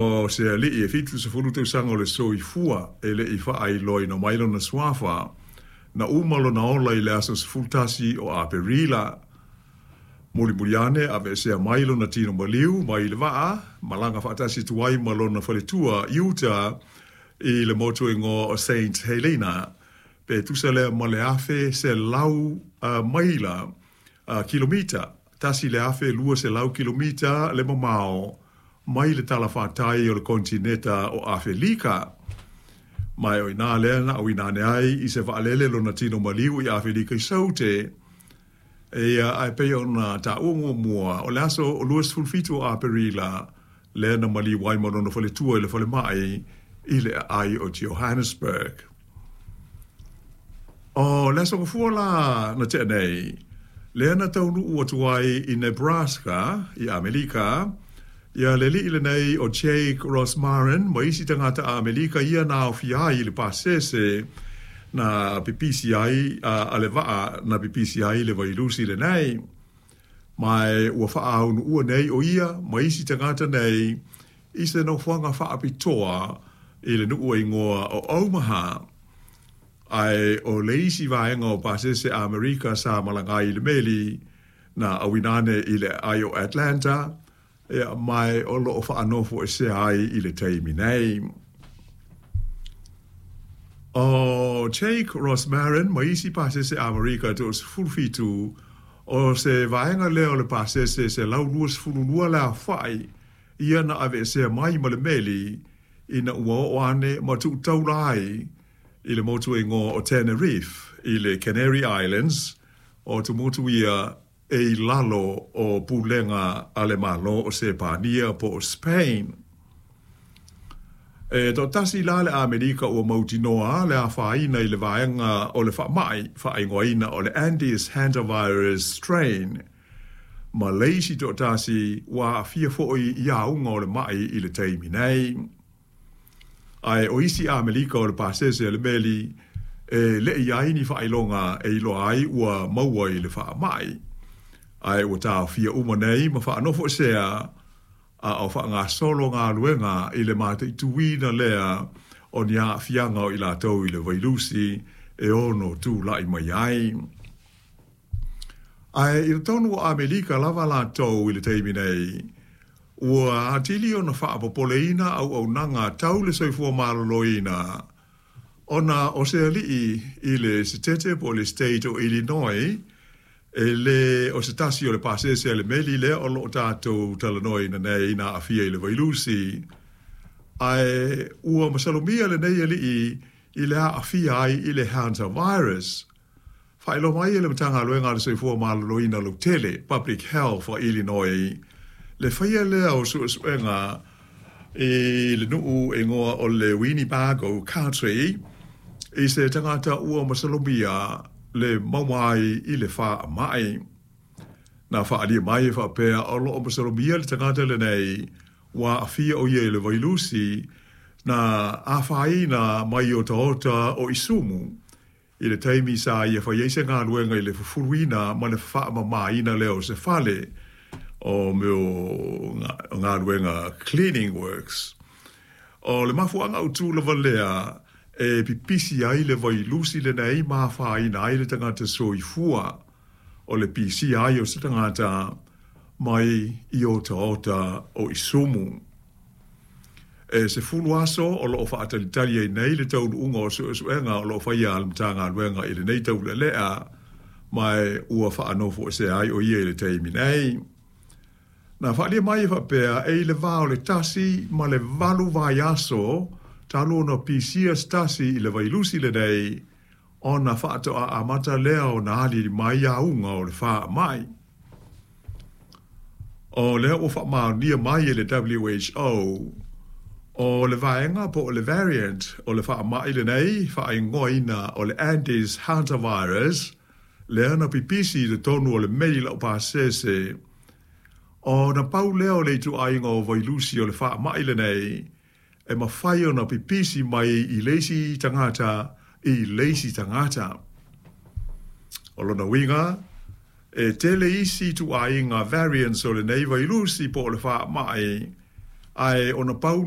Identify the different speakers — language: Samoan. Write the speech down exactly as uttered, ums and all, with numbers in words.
Speaker 1: O se ali'i e fitu sefulu tausaga o le soifua e le'i fa'ailoaina mai lona suafa, na uma lona ola i le aso sefulutasi o Aperila. Mulimuli ane ave'esea mai lona tino maliu mai le va'a, malaga fa'atasi atu ai ma lona faletua i uta i le motu e igoa o Saint Helena, pe tusa lea ma le afe selau maila kilomita, tasi le afe lua selau kilomita le mamao mai le talafatai o le konetineta o Afelika. Ma o i inā lea na auina ane ai i se vaalele lona tino maliu i Afelika i Saute. Ia, ae pei ona taua muamua, o le aso luasefulu fitu o Aperila lea na maliu ai ma lona faletua i le falemai i le aai o Johannesburg. O le aso Gafua la na tea nei, lea na taunuu atu ai i Nebraska i Amelika ia le ali'i lenei o Jake Rosmarin ma isi tagata Amelika ia na aofia ai i le pasese na pipisi ai a le vaa na pipisi ai le vailusi lenei. Ma ua faaunuua nei o ia ma isi tagata nei i se nofoaga faapitoa i le nuu e igoa o Omaha. Ae o le isi vaega o pasese Amerika sa malaga ai i le meli na auina ane i le aai o Atlanta, ia, ma o loo faanofoesea ai i le taimi nei. O Jake Rosmarin ma isi pasese Amerika toasefulu fitu, o se vaega lea o le pasese selau luasefulu lua le aofa'i ia na aveesea mai ma le meli ina ua oo ane ma tu'utaula ai i le motu e igoa o Tenerife i le Canary Islands, o tumotu ia e i lalo o pulega a le Malo o Sepania po o Spain. E toatasi la le Amerika ua mautinoa le afaina i le vaega o le faama'i faaigoaina o le Andes Hantavirus Strain, ma le isi toatasi ua aafia fo'i i auga o le ma'i i le taimi nei. Ae o isi Amerika o le pasese a le meli e le'i i ai ni faailoga e iloa ai ua maua i le faama'i, ae ua taofia uma nei ma faanofoesea a o faagasolo galuega i le mataituina lea o ni aafiaga o i latou i le vailusi e ono tula'i mai ai. Ae i totonu o Amerika lava latou i le taimi nei, ua atili ona faapopoleina auaunaga tau le soifua maloloina, ona o se ali'i i le setete po o le state o Illinois, e le o se tasi o le pasese a le meli lea o loo tatou talanoaina nei na aafia i le vailusi, ae ua masalomia lenei ali'i i le aafia ai i le hantavirus. Faailoa mai e le Matagaluega a le Soifua Maloloina Lautele, Public Health a Illinois, le faia lea o suesuega i le nuu e igoa o le Winnebago County i se tagata ua masalomia le maua ai i le faama'i. Na faaalia mai e faapea o loo masalomia le tagata lenei ua aafia o ia i le vailusi na afaina mai otaota o isumu i le taimi sa ia fai ai se galuega i le fufuluina ma le faamamaina lea o se fale o mea o galuega cleaning works. O le mafuaaga autu lava lea e pipisi ai le vailusi lenei ma afaina ai le tagata soifua, o le pisia ai o se tagata mai i otaota o isumu. E sefulu aso o loo faatalitali ai nei le taunuuga o suesuega o loo faia a le Matagaluega i lenei taulelea, ma ua faanofoesea ai o ia i le taimi nei. Na faaalia mai e faapea e i le va o le tasi ma le valu vaiaso talu ona pisia se tasi i le vailusi lenei, ona faatoa amata lea ona aliali mai auga o le faama'i. O lea ua faamaonia mai e le W H O, o le vaega po o le variant o le faama'i lenei faaigoaina o le Andes Hantavirus, lea na pipisi i totonu o le meli laupasese, ona pau lea o le ituaiga o vailusi o le faama'i lenei e mafai ona pipisi mai i le isi tagata i le isi tagata. O lona uiga, e tele isi ituaiga variants o lenei vailusi po o le faama'i, ae ona pau